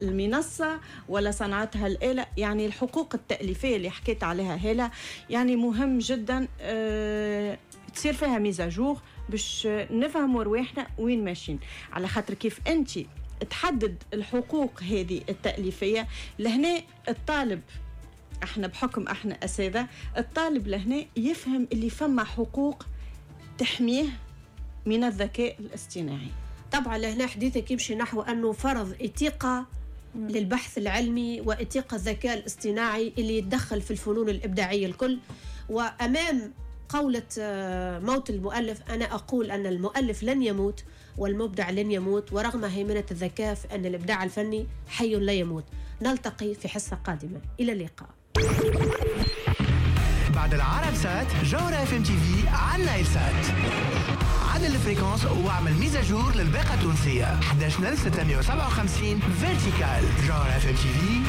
المنصة ولا صنعتها الآلة. يعني الحقوق التأليفية اللي حكيت عليها هالة يعني مهم جدا تصير فيها mise à jour باش نفهموا رواحنا وين ماشيين، على خاطر كيف انت تحدد الحقوق هذه التأليفية لهنا الطالب، احنا بحكم احنا أساتذة، الطالب لهنا يفهم اللي فما حقوق تحميه من الذكاء الاصطناعي. طبعا لهنا حديثك يمشي نحو أنه فرض إتيقة للبحث العلمي وإتيقة الذكاء الاصطناعي اللي يتدخل في الفنون الإبداعية الكل. وأمام قولة موت المؤلف، أنا أقول أن المؤلف لن يموت والمبدع لن يموت، ورغم هيمنة الذكاء فإن الإبداع الفني حي لا يموت. نلتقي في حصة قادمة، إلى اللقاء. بعد العرب سات، جوهرة اف ام تي في على النايل سات. عدل ال fréquence واعمل mise à jour للباقة التونسية 11657 verticale. جوهرة اف ام تي في.